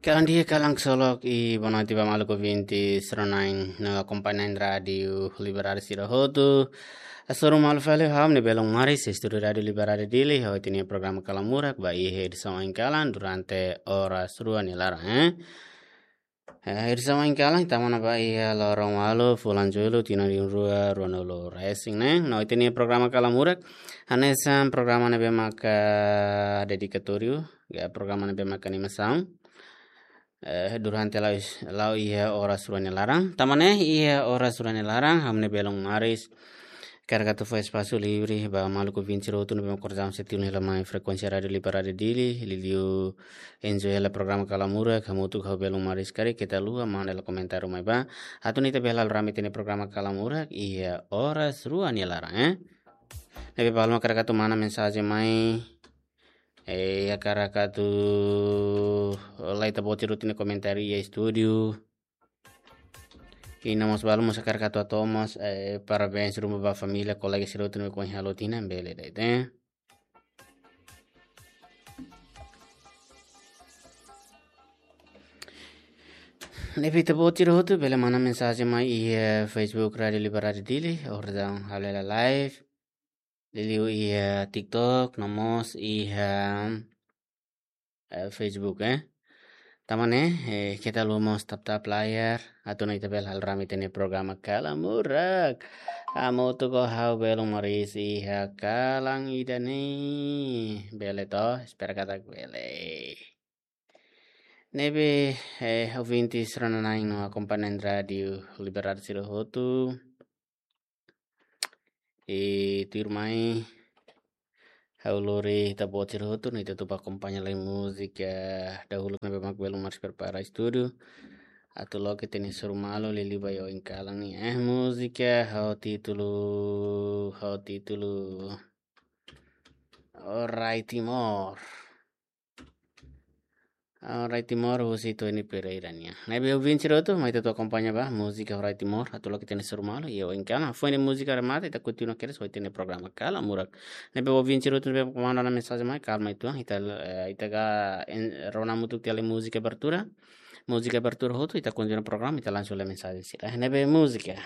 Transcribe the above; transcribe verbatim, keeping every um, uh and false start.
Kalan di'ak, kalan ksolok, i boa noite ba maluk ouvinte sira-na'in no akompañante Rádiu Liberdade sira hotu. Hasoru malu fali ha'u-nia belun maris, estúdiu Rádiu Liberdade Dili, ha'u iha ita-nia programa Kalan Murak, ba iha edisaun ohin kalan durante oras rua nia laran, eh. Eh, edisaun ohin kalan, tama ona ba iha loron ualu, fulan Jullu, tinan rihun rua, ruanulu resin ne'e. No ita-nia programa Kalan Murak, hanesan programa ne'ebé maka dedikatóriu, ka programa ne'ebé maka animasaun. Eh, durante la'o, la'o iha oras rua nia laran. Tama ne'e iha oras rua nia laran, ha'u-nia belun maris hakarak atu fó espasu livre ba maluk ouvinte sira hotu ne'ebé maka oinsá sei tilun hela mai frekuénsia Rádiu Liberdade Dili, liuliu enjoy hela programa Kalan Murak, hamutuk ho belun maris karik, keta haluha manda hela komentáriu mai ba. Atu nune'e ita bele halo rame ita-nia programa Kalan Murak iha oras rua nia laran, eh. Ne'ebé balu mak hakarak atu manda mensajen mai, eh, hakarak atu lai ita-boot sira hotu nia komentáriu iha estúdiu. I no mós balu mós hakarak atu hato'o mós, eh, parabéns ruma ba família, kolega sira hotu ne'ebé ohin halo tinan, bele de'it, eh. Ne'ebé ita-boot sira hotu bele manda mensajen mai iha Facebook Rádiu Liberdade Dili, orsida halo hela live. Liuliu iha TikTok, no mós iha, eh, Facebook, eh. Tama ne'e, eh, keta haluha mós tap-tap layar, atu nune'e ita bele halo rame ita-nia programa Kalan Murak. Hamutuk ho ha'u belun maris iha kalan ida-ne'e. Bele to, espera katak bele. Ne'ebé, eh, ouvinte sira-na'in no akompañante Rádiu Liberdade sira hotu. I tuirmai, ha'u lori ita-boot sira hotu, nune'e ita atu bá akompaña lai múzika dahuluk ne'ebé mak belun maris prepara estúdiu. Atu loke ita-nia hasoru malu liuliu ba iha ohin kalan ne'e, eh, múzika ho títulu, ho títulu Orai Timor. Orai Timor, husi Tony Pereira nian. Ne'ebé ouvinte sira hotu, mai ita atu akompaña ba múzika Orai Timor, atu loke ita-nia hasoru malu, i ohin kalan, foin múzika remata, ita kontinua kedas ho ita-nia programa Kalan Murak. Ne'ebé ouvinte sira hotu, ne'ebé manda ona mensajen mai, kalma uitoan, ita, eh, ita ka en-, rona hamutuk tiha lai múzika abertura. Múzika abertura hotu, ita kontinua programa, ita lansa lai mensajen sira. Ne'ebé múzika.